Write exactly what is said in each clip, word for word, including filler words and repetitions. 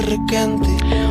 requente.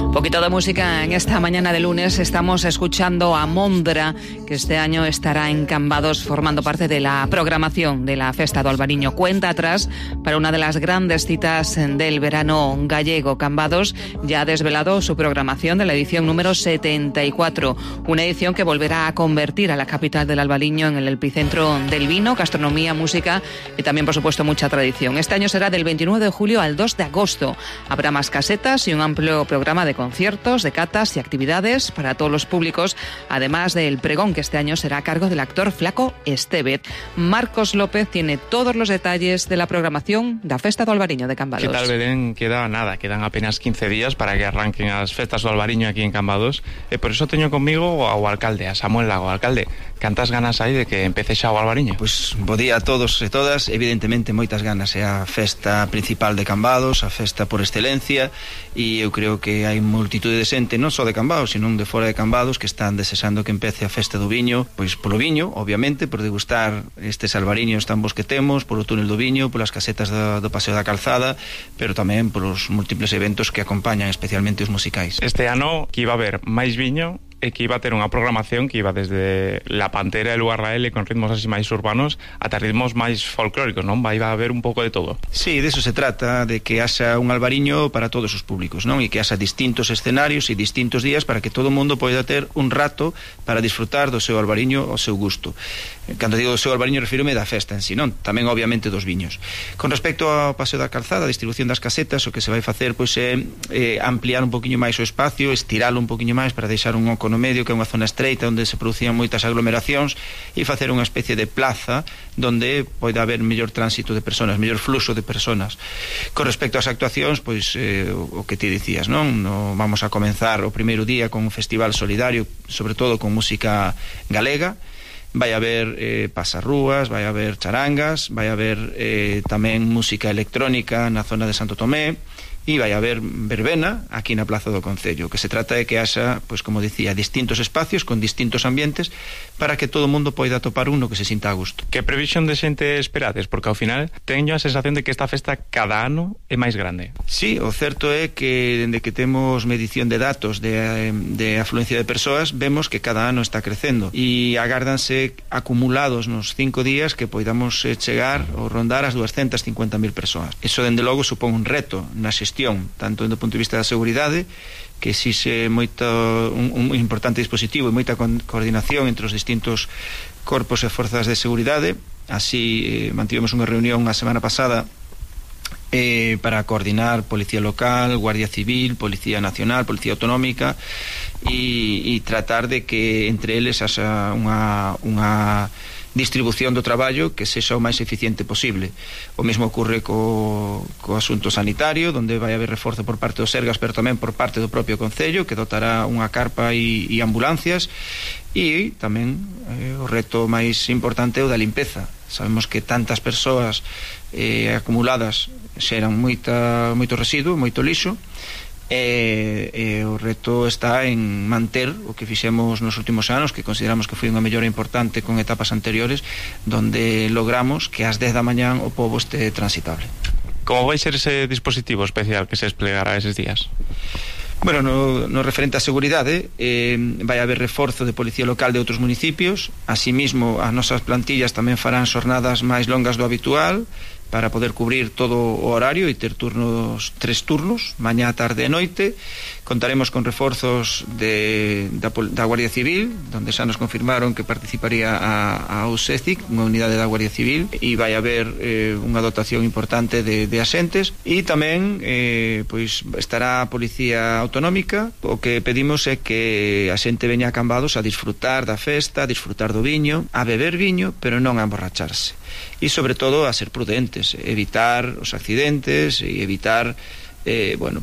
Un poquito de música en esta mañana de lunes. Estamos escuchando a Mondra, que este año estará en Cambados formando parte de la programación de la Festa do Albariño. Cuenta atrás para una de las grandes citas del verano gallego. Cambados ya ha desvelado su programación de la edición número setenta y cuatro, una edición que volverá a convertir a la capital del Albariño en el epicentro del vino, gastronomía, música y también, por supuesto, mucha tradición. Este año será del veintinueve de julio al dos de agosto. Habrá más casetas y un amplio programa de conciertos, de catas y actividades para todos los públicos, además del pregón, que este año será a cargo del actor Flaco Estevez. Marcos López tiene todos los detalles de la programación da Festa do Albariño de Cambados. ¿Qué tal, Belén? Queda nada, quedan apenas quince días para que arranquen as festas do Albariño aquí en Cambados, e por eso teño conmigo ao alcalde, a Samuel Lago. Alcalde, cantas ganas hai de que empece xa o Albariño? Pois bo día a todos e todas, evidentemente moitas ganas, é a festa principal de Cambados, a festa por excelencia, e eu creo que hai multitude de xente, non só de Cambados, sino de fora de Cambados, que están desexando que empece a festa do viño, pois polo viño, obviamente, por degustar estes albariños tan bons que temos, polo túnel do viño, polas casetas do, do Paseo da Calzada, pero tamén polos múltiples eventos que acompañan, especialmente os musicais. Este ano que iba a haber máis viño e que iba a ter unha programación que iba desde La Pantera e Lugar Rael con ritmos así máis urbanos ata ritmos máis folclóricos, non? Vai a haber un pouco de todo. Sí, de eso se trata, de que haxa un albariño para todos os públicos, non? E que haxa distintos escenarios e distintos días para que todo o mundo poida ter un rato para disfrutar do seu albariño ao seu gusto. Cando digo do seu albariño, refírome da festa en si, non? Tamén, obviamente, dos viños. Con respecto ao Paseo da Calzada, a distribución das casetas, o que se vai facer pois é eh, ampliar un poquinho máis o espacio, estiralo un poquinho máis para deixar un oco no medio, que é unha zona estreita onde se producían moitas aglomeracións, e facer unha especie de plaza donde pode haber mellor tránsito de personas, mellor fluxo de personas. Con respecto ás actuacións, pois eh, o que ti dicías, non? No, vamos a comenzar o primeiro día con un festival solidario, sobre todo con música galega. Vai haber eh, pasarrúas, vai haber charangas, vai haber eh, tamén música electrónica na zona de Santo Tomé, e vai haber verbena aquí na Plaza do Concello. O que se trata é que haxa, pois como dicía, distintos espacios con distintos ambientes para que todo o mundo poida topar un no que se sinta a gusto. Que previsión de xente esperades? Porque ao final teño a sensación de que esta festa cada ano é máis grande. Sí, o certo é que dende que temos medición de datos de, de afluencia de persoas, vemos que cada ano está crecendo e agárdanse acumulados nos cinco días que poidamos chegar ou rondar as duascentas e cincuenta mil persoas. Eso, dende logo, supón un reto na xestión, tanto do punto de vista da seguridade, que exixe moito, un, un importante dispositivo e moita con, coordinación entre os distintos corpos e forzas de seguridade. Así eh, mantivemos unha reunión a semana pasada eh, para coordinar Policía Local, Guardia Civil, Policía Nacional, Policía Autonómica, e, e tratar de que entre eles haxa unha, unha distribución do traballo que sexa o máis eficiente posible. O mesmo ocurre co, co asunto sanitario, onde vai haber reforzo por parte dos Sergas, pero tamén por parte do propio Concello, que dotará unha carpa e, e ambulancias, e tamén eh, o reto máis importante é o da limpeza. Sabemos que tantas persoas eh, acumuladas xeran moita, moito residuo, moito lixo, E, e o reto está en manter o que fixemos nos últimos anos, que consideramos que foi unha mellora importante con etapas anteriores, donde logramos que ás dez da mañán o pobo este transitable. Como vai ser ese dispositivo especial que se desplegará eses días? Bueno, no, no referente á seguridade, eh, vai haber reforzo de policía local de outros municipios. Asimismo, as nosas plantillas tamén farán xornadas máis longas do habitual, para poder cubrir todo o horario e ter turnos, tres turnos, mañá, tarde e noite. Contaremos con reforzos de, da, da Guardia Civil, donde xa nos confirmaron que participaría a, a USECIC, unha unidade da Guardia Civil, e vai haber eh, unha dotación importante de, de asentes, e tamén eh, pois estará a Policía Autonómica. O que pedimos é que a xente veña a Cambados a disfrutar da festa, a disfrutar do viño, a beber viño, pero non a emborracharse. E sobre todo a ser prudentes, evitar os accidentes e evitar eh, bueno,